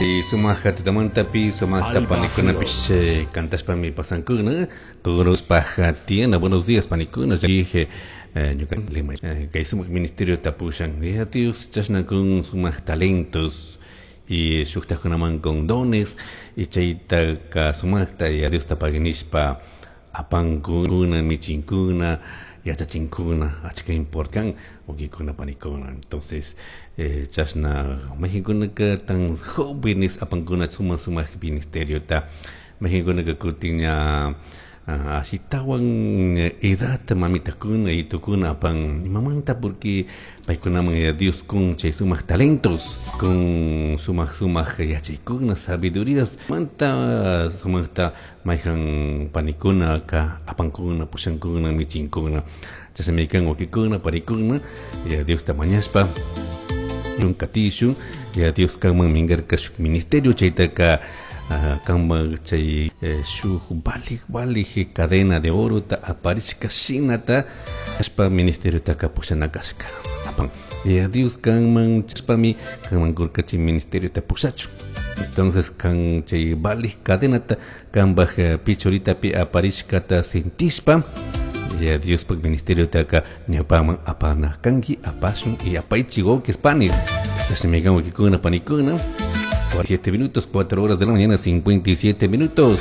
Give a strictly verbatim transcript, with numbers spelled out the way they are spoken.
Y sumaj tutamantapi sumajta Alba panikunapish Fields. eh, cantashpami pasankuna Kuruspaj tiena buenos días panikuna dije eh, ñuka lima eh, kay sumak ministerio tapushan ya Dios chashna kun sumak talentos y shuktakunaman con dones y chayta sumakta y a Dios tapaginishpa apankuna michinkuna yachachinkuna achka importan wawkikuna panikuna. Entonces eh, chashna mayqinkunaka tan jóvenes apankuna sumak sumak ministeriota, mayqinkunaka kutin ña ah, ashitawan edad mamitakuna y tukuna apan imamanta, porque paykunaman ya Dios kun chay sumak talentos, kun sumak sumak yachaykuna, sabidurías manta sumakta mayqan panikuna ka apankuna, pushankuna, michinkuna. Chashnami kan, wawkikuna panikuna, ya Diosta mañashpa katishun. Ya Dios kanman minkarka shuk ministerio, chaytaka ah, kanman chay eh, shuk valik valik cadena de oro ta aparishka shinata ashpa ministeriotaka pushana kashka apan. Ya Dios kanman chashpami kanman kurka chay ministeriota pushachu. Entonces kan chay valik cadenata kanpaj eh, pichoritapi aparishkata sentishpa ya Diospaj ministeriotaka ñawpaman apana kanki, apashun y apaychi, wawkis panis. Chashnami kan, wawkikuna panikuna. Siete minutos, cuatro horas de la mañana, cincuenta y siete minutos.